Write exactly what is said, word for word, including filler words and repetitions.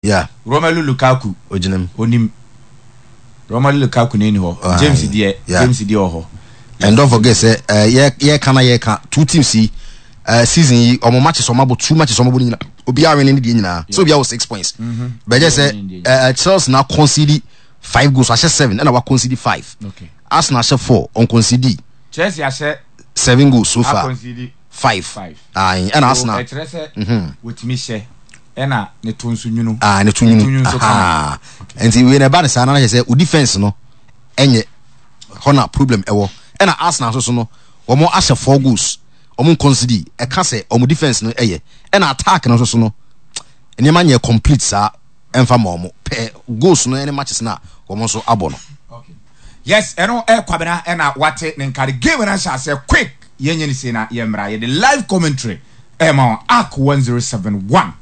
Yeah. Romelu Lukaku. Ogyina mu. Onim Romelu Lukaku n'eni hɔ. Ah, James deɛ, yeah. James deɛ wɔ hɔ. And don't forget sɛ uh, yɛ yɛka na yɛka two teams yi, uh, season yi ɔmo matches ɔmo abɔ, two matches ɔmo abɔ ne nyinaa, obiara win ne deɛ nyinaa, so obiara wɔ six points. Bɛgye sɛ uh, Chelsea na concede five goals, ahyɛ seven, ɛna wa concede five. Okay. Arsenal ahyɛ four, on concede Chelsea ahyɛ seven goals so far. A concede five. Five. Ayi, ɛna So Arsenal ɛkyerɛ sɛ wotumi hyɛ, ɛna ne to nso nwunu. Ah, ne to Ne to nwunu nwunu nso kama. Aha. Nti wei na ɛba ne saa na kyerɛ sɛ o defence no ɛnyɛ hɔ na problem ɛwɔ. Ɛna Arsenal nso so no, wɔn ahyɛ four goals, wɔn concede. Ɛka sɛ wɔn defence no ɛyɛ, ɛna attack no nso so no, nneɛma nyɛ complete saa ɛnfa ma wɔn pɛ goals no ɛne matches na wɔn nso abɔ no. Okay. Yes, ɛno ɛ Kwabena, ɛna wate ne nkare game no ahyɛ aseɛ quick. Yɛnyɛ ne sei na yɛmmra, yɛde live commentary ɛma wɔn Ark one zero seven one.